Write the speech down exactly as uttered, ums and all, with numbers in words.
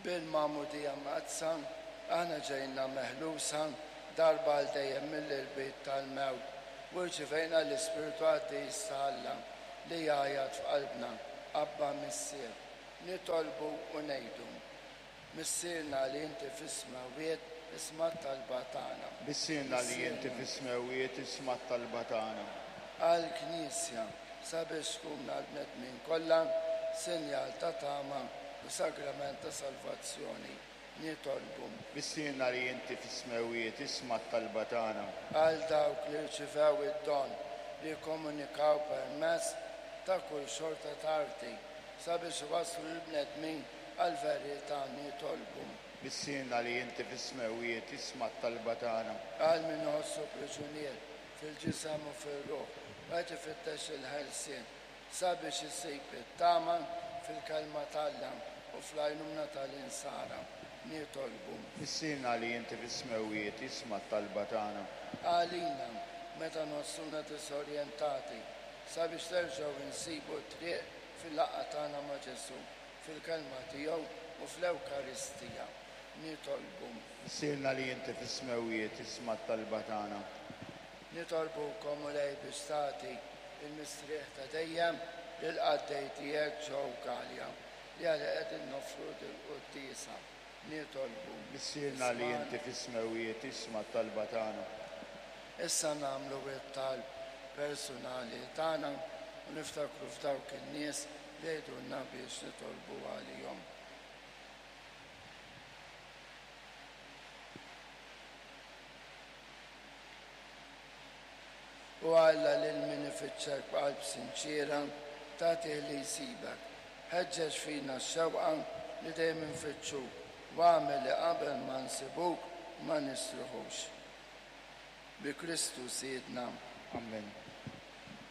Bil-magħmudija mqaddsa aħna ġejna meħlusa darba għal dejjem mill-irbit tal-mewt u rċivejna l-Ispirtu Qaddis ta' Alla li jgħajjat f'qalbna Abba Missier. Nitolbu u ngħidu: Missierna li inti fis-smewwiet, isma' t-talba tagħna. Missierna li inti fis-smewwiet, isma' t-talba tagħna. Għall-Knisja sabiex tkun għall-bnedmin kollha sinjal ta' tama u sagrament ta' salvazzjoni. Nitolbu. Missierna li inti fis-smewwiet, isma' t-talba tagħna. Għal dawk li rċivew id-don li jikkomunikaw permezz ta' kull xorta ta' arti sabiex iwasslu lill-bnedmin għall-verità. Nitolbu. Missierna li inti fis-smewwiet, isma' t-talba tagħna. Għal min iħossu priġunier fil-ġisem u fir-ruħ u qed ifittex il-ħelsien sabiex isib it-tama fil-kelma t'Alla u fl-għajnuna tal-insara. Nitolbu. Missierna li inti fis-smewwiet, isma' t-talba tagħna. Għalina meta nħossuna disorjentati sabiex nerġgħu nsibu t-triq fil-laqgħa tagħna ma' Ġesù, fil-kelma tiegħu u fl-Ewkaristija. Nitolbu. Missierna li inti fis-smewwiet, isma' t-talba tagħna. Nitolbukom, Mulej, biex tagħti il-mistrieħ ta' dejjem lill-qaddej tiegħek Joe Galea li għalih qegħdin noffru dil-quddiesa. Nitolbu. Missierna li inti fis-smewwiet, isma' t-talba tagħna. Issa nagħmlu t-talb personali tagħna u niftakru f'dawk in-nies li jgħidulna biex nitolbu għalihom. U Alla lil min ifittxek b'qalb sinċiera tagħtih li jsibek. Ħeġġeġ fina x-xewqa li dejjem infittxuk u agħmel li qabel ma nsibuk ma nistrieħux. Bi Kristu Sidna. Amen.